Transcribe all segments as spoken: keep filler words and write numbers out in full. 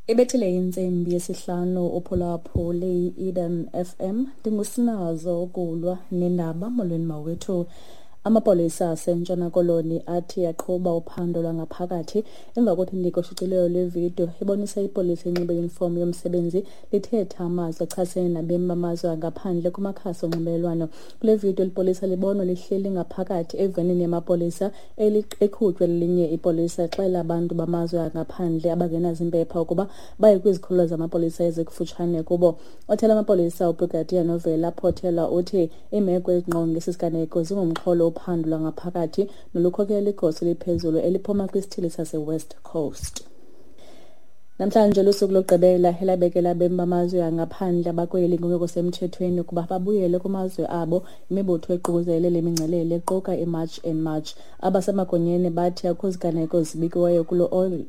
Ibethile intsimbi yesihlanu uphulaphule i-Eden F M. Ndingusinazo ukulwa nendaba. Molweni mawethu. Amapolisa aseNtshona Koloni athi aqhuba uphando lwangaphakathi emva kothi ushicilelo lwevidiyo ibonisa ipolisa inxibe yunifomu yomsebenzi lithetha amazwi achasene nabemi bamazwe angaphandle kumakhasi onxibelelwano. Kule vidiyo lipolisa libonwa lihleli ngaphakathi evenini yamapolisa eqhutywe lelinye ipolisa exelela abantu bamazwe angaphandle abangenazimpepha ukuba baye kwizikhululo zamapolisa ezikufutshane kubo. Othela amapolisa uBrigadier Novela Photela uthi iimeko ezingqonge esi siganeko zingumxholo uphando lwangaphakathi nolukhokela igosa eliphezulu eliphuma kwisithili sase-West Coast. Namhlanje lusuku lokugqibela elabekela abemi bamazwe angaphandle abakweli ngokungekho semthethweni ukuba babuyele kumazwe abo. Imibutho eququzelele le mingcelele equka iMarch and March. Abasemagunyeni bathi akukho ziganeko zibikiweyo kulo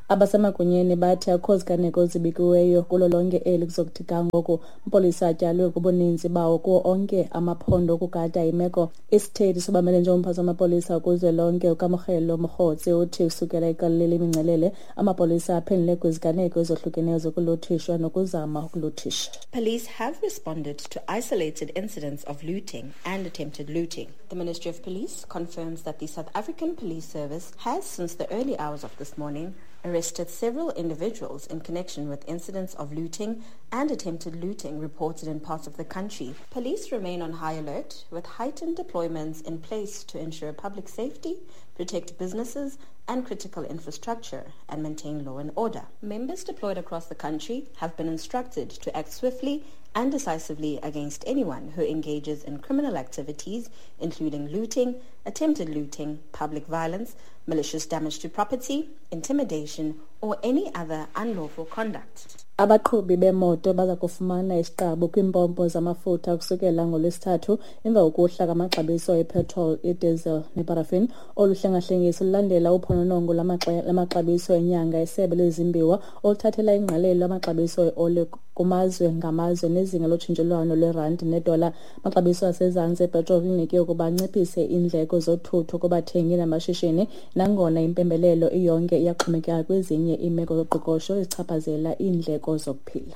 Abasemagunyeni bathi akukho ziganeko zibikiweyo kulo lonke eli kuzokuthi ga ngoku. Amapolisa atyalwe kubuninzi bawo kuwo onke amaphondo ukugada imeko. Isithethi sobamele njengomphathi wamapolisa kuzwelonke uKamogelo Mogotsi uthi kusukela iqalele imingcelele amapolisa aphendule kwiziganeko ezohlukeneyo zokuluthishwa nokuzama ukuluthisha. Police have responded to isolated incidents of looting and attempted looting. The Ministry of Police confirms that the South African Police Service has, since the early hours of this morning, arrested several individuals in connection with incidents of looting and attempted looting reported in parts of the country. Police remain on high alert with heightened deployments in place to ensure public safety, protect businesses and critical infrastructure, and maintain law and order. Members deployed across the country have been instructed to act swiftly and decisively against anyone who engages in criminal activities, including looting, attempted looting, public violence, malicious damage to property, intimidation, or any other unlawful conduct. Abaqhubi bemoto baza kufumana isiqabu kwiimpompo zamafutha kusukela ngoLwesithathu emva kokuhla kwamaxabiso epetrol, idiesel neparafin. Olu hlengahlengiso lulandela uphononongo lwamaxabiso enyanga esebe lezimbiwa oluthathela ingqalelo amaxabiso eoli kumazwe ngamazwe nezinga lotshintshelwano lwerandi nedola. Amaxabiso asezantsi epetrol linike ukuba anciphise iindleko zothutho kubathengi namashishini, nangona impembelelo iyonke iyaxhomekeka kwezinye iimeko zoqoqosho ezichaphazela iindleko zokuphila.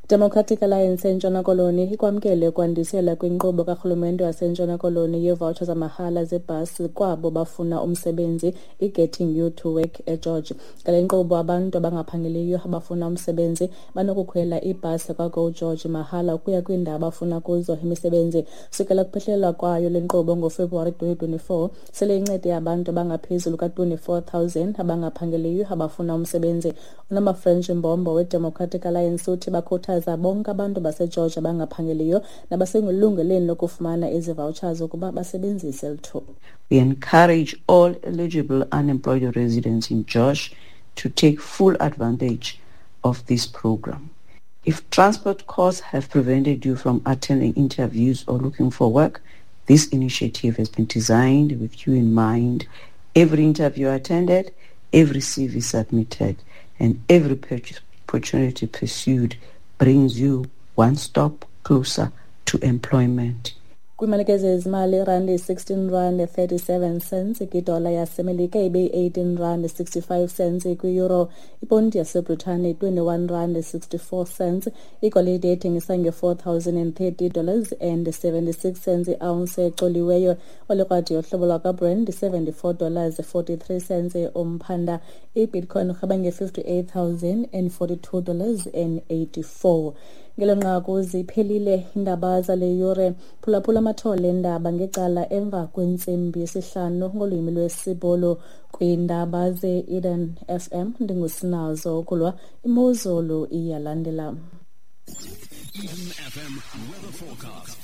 Democratic Alliance eNtshona Koloni ikwamkele ukwandisela kwinkqubo karhulumente waseNtshona Koloni yeevoucher zamahala zebhasi kwabo bafuna umsebenzi i-Getting You to Work eGeorge. Ngale nkqubo abantu abangaphangeliyo abafuna umsebenzi banokukhwela ibhasi kwaGo George mahala ukuya kwiindawo abafuna kuzo imisebenzi. Sukela kuphehlelwa kwayo le nkqubo ngoFebruwari twenty twenty-four, sele incede abantu abangaphezulu ka-twenty-four thousand abangaphangeliyo abafuna umsebenzi. UNomafrench Mbombo weDemocratic Alliance uthi bakhuthaza bonke abantu baseGeorge abangaphangeliyo nabaselungelweni lokufumana ezi vouchers ukuba basebenzise lithuba. We encourage all eligible unemployed residents in George to take full advantage of this program. If transport costs have prevented you from attending interviews or looking for work, this initiative has been designed with you in mind. Every interview attended, every C V submitted, and every purchase opportunity pursued brings you one step closer to employment. Kwimalike zezimali, irandi sixteen rand thirty-seven cents kwidola yaseMelika ibe eighteen rand sixty-five cents kwi-euro. Iponti yaseBritane twenty-one rand sixty-four cents. Igolide ethengisa nge-four thousand and thirty dollars and seventy-six cents i-ounce ecoliweyo. Olikrwadi yohlobo lwakwaBrent seventy-four dollars forty-three cents umphanda. I-Bitcoin irhaba nge-fifty-eight thousand and forty-two dollars and eighty-four. Ngelo nqaku ziphelile iindaba zale yure. Phulaphula amathole endaba ngecala emva kwentsimbi yesihlanu ngolwimi lwesiBhulu kwiindaba ze-Eden F M. Ndingusinazo ukulwa imozulu iyalandela. Eden F M weather forecast.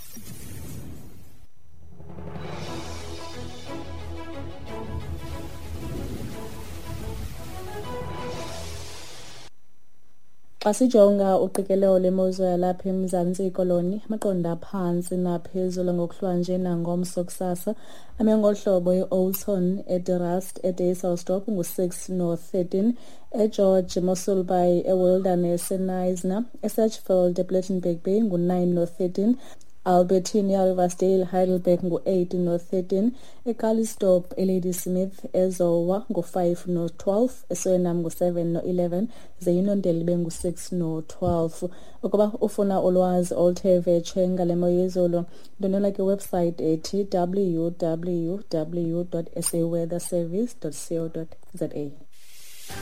Xa sijonga uqikelelo lwemozulu yalapha eMzantsi Koloni, amaqondo aphantsi naphezulu ngokuhlwanje nangomso kusasa ame ngolu hlobo: e-Oudtshoorn, eDe-Rust, eDysselsdorp ngu-six no-thirteen, eGeorge, Mossel Bay, eWilderness, eKnysna, eSedgefield, ePlettenberg Bay ngu-nine no-thirteen, Albertinia, Riversdale, Heidelberg ngu-eight no-thirteen, eCalitzdorp, eLadysmith, eZowa ngu-five no-twelve, eSuriname ngu-seven no-eleven, ze iNondeli ibe ngu-six no-twelve. Ukuba ufuna ulwazi oluthe vetshe ngale mo yezulu, ndwendwela kwiwebsite ethi w w w dot s a weather service dot co dot za.